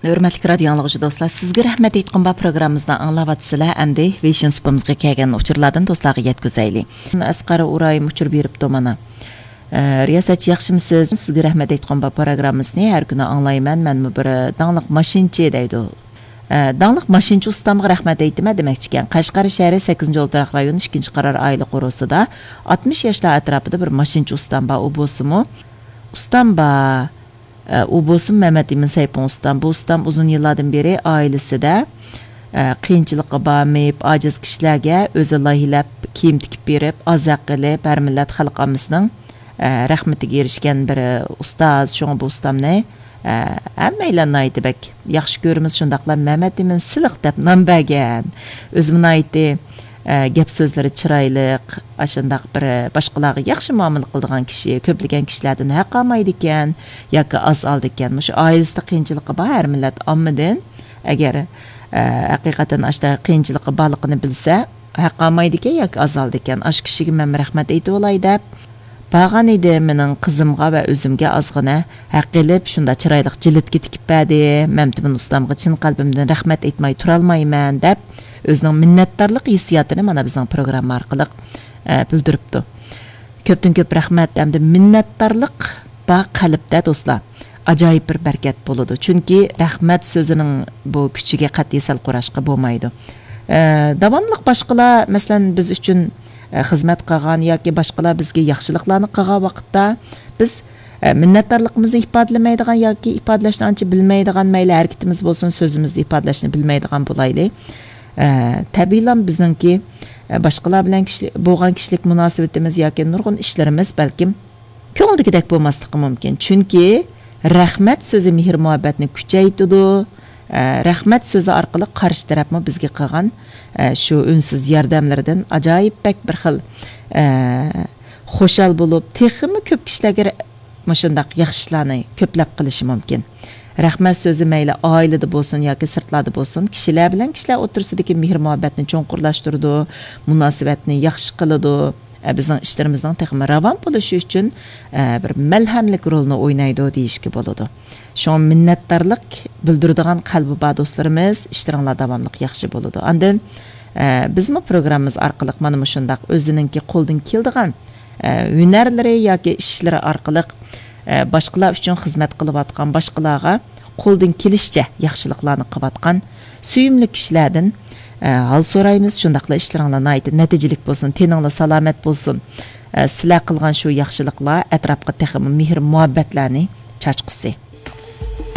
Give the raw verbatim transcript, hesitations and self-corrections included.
ھۆرمەتلىك رادىيو ئاڭلىغۇچى دوستلار، سىزگە رەھمەت ئېيتقۇم بار پروگراممىمىزنى ئاڭلاۋاتىسىلەر. ئەمدى ۋېيشىن سۇپىمىزغا كەلگەن ئۇچۇرلاردىن دوستلارغا يەتكۈزەيلى. ئەسقەر ئۇرايىم ئۇچۇر بېرىپتۇ مانا. ئە، رىياسەتچى ياخشىمۇسىز؟ سىزگە رەھمەت ئېيتقۇم بار پروگراممىسىنى ھەر كۈنى ئاڭلايمەن. مەنمۇ بىر داڭلىق ماشىنىچى دەيدۇ. ئە، داڭلىق ماشىنىچى ئۇستامغا رەھمەت ئېيتىمەن دېمەكچىكەن. قەشقەر شەھىرى سەككىزىنچى ئولتۇراق رايونى ئىككىنچى قارار ئائىلە قورۇسىدا ئاتمىش ياشلار ئەتراپىدا بىر ماشىنىچى ئۇستام بار. ئۇ بولسىمۇ، ئۇستام بار. ئە، ئۇ بولسىمۇ مەمەت ئىمىن سەيپۇڭ ئۇستام. بۇ ئۇستام ئۇزۇن يىللاردىن بېرى ئائىلىسىدە، ئە، قىيىنچىلىقى بار، مېيىپ، ئاجىز كىشىلەرگە ئۆزى لايىھەلەپ، كىيىم تىكىپ بېرىپ، ئاز ھەق ئېلىپ، ھەر مىللەت خەلق ئاممىسىنىڭ، ئە، رەھمىتىگە ئېرىشكەن بىر ئۇستاز. شۇڭا بۇ ئۇستامنى، ئە، ھەممەيلەن ناھايىتى بەك ياخشى كۆرىمىز. شۇنداقلا مەمەت ئىمىن سىلىق دەپ نام بەرگەن. ئۆزىمۇ ناھايىتى، ئە، گەپ سۆزلىرى چىرايلىق، ئاشۇنداق بىر باشقىلارغا ياخشى مۇئامىلە قىلىدىغان كىشى، كۆپلىگەن كىشىلەردىن ھەق ئالمايدىكەن ياكى ئاز ئالىدىكەن. مۇشۇ ئائىلىسىدە قىيىنچىلىقى بار ھەر مىللەت ئاممىدىن، ئەگەر، ئە، ھەقىقەتەن ئاشۇنداق قىيىنچىلىقى بارلىقىنى بىلسە، ھەق ئالمايدىكەن ياكى ئاز ئالىدىكەن. ئاشۇ كىشىگە مەنمۇ رەھمەت ئېيتىۋالاي دەپ بارغان ئىدىم. مېنىڭ قىزىمغا ۋە ئۆزۈمگە ئازغىنە ھەق ئېلىپ، شۇنداق چىرايلىق جىلىتكە تىكىپ بەردى. مەمتىمىن ئۇستامغا چىن قەلبىمدىن رەھمەت ئېيتماي تۇرالمايمەن دەپ، ئۆزىنىڭ مىننەتدارلىق ھېسسىياتىنى مانا بىزنىڭ پروگرامما ئارقىلىق، ئە، بىلدۈرۈپتۇ. كۆپتىن كۆپ رەھمەت ھەمدە مىننەتدارلىق بار قەلبتە، دوستلار، ئاجايىپ بىر بەرىكەت بولىدۇ. چۈنكى رەھمەت سۆزىنىڭ بۇ كۈچىگە قەتئىي سەل قاراشقا بولمايدۇ. ئە، داۋاملىق باشقىلار، مەسىلەن، بىز ئۈچۈن، ئە، خىزمەت قىلغان ياكى باشقىلار بىزگە ياخشىلىقلارنى قىلغان ۋاقىتتا، بىز، ئە، مىننەتدارلىقىمىزنى ئىپادىلىمەيدىغان ياكى ئىپادىلەشنى ئانچە بىلمەيدىغان، مەيلى ھەرىكىتىمىز بولسۇن، سۆزىمىزنى ئىپادىلەشنى بىلمەيدىغان بولايلى. ئە، تەبىئىيلا بىزنىڭكى، ئە، باشقىلار بىلەن كىشىلىك، بولغان كىشىلىك مۇناسىۋىتىمىز ياكى نۇرغۇن ئىشلىرىمىز بەلكىم كۆڭۈلدىكىدەك بولماسلىقى مۇمكىن. چۈنكى رەھمەت سۆزى مېھىر-مۇھەببەتنى كۈچەيتىدۇ. ئە، رەھمەت سۆزى ئارقىلىق قارشى تەرەپمۇ بىزگە قىلغان، ئە، شۇ ئۈنسىز ياردەملىرىدىن ئاجايىپ بەك بىر خىل، ئە، خۇشال بولۇپ، تېخىمۇ كۆپ كىشىلەرگە رە-، مۇشۇنداق ياخشى ئىشلارنى كۆپلەپ قىلىشى مۇمكىن. رەھمەت سۆزى مەيلى ئائىلىدە بولسۇن ياكى سىرتلاردا بولسۇن، كىشىلەر بىلەن كىشىلەر ئوتتۇرىسىدىكى مېھىر-مۇھەببەتنى چوڭقۇرلاشتۇرىدۇ، مۇناسىۋەتنى ياخشى قىلىدۇ. ئە، بىزنىڭ ئىشلىرىمىزنىڭ تېخىمۇ راۋان بولۇشى ئۈچۈن، ئە، بىر مەلھەملىك رولنى ئوينايدۇ دېيىشكە بولىدۇ. شۇڭا مىننەتدارلىق بىلدۈرىدىغان قەلبى بار دوستلىرىمىز، ئىشلىرىڭلار داۋاملىق ياخشى بولىدۇ. ئاندىن، ئە، بىزمۇ پروگراممىمىز ئارقىلىق مانا مۇشۇنداق ئۆزىنىڭكى قولىدىن كېلىدىغان، ئە، ھۈنەرلىرى ياكى ئىشلىرى ئارقىلىق، ئە، باشقىلار ئۈچۈن خىزمەت قىلىۋاتقان، باشقىلارغا قولىدىن كېلىشىچە ياخشىلىقلارنى قىلىۋاتقان سۆيۈملۈك كىشىلەردىن، ئە، ھال سورايمىز. شۇنداقلا ئىشلىرىڭلار ناھايىتى نەتىجىلىك بولسۇن، تېنىڭلار سالامەت بولسۇن. ئە، سىلەر قىلغان شۇ ياخشىلىقلار ئەتراپقا تېخىمۇ مېھىر-مۇھەببەتلەرنى چاچقۇسى.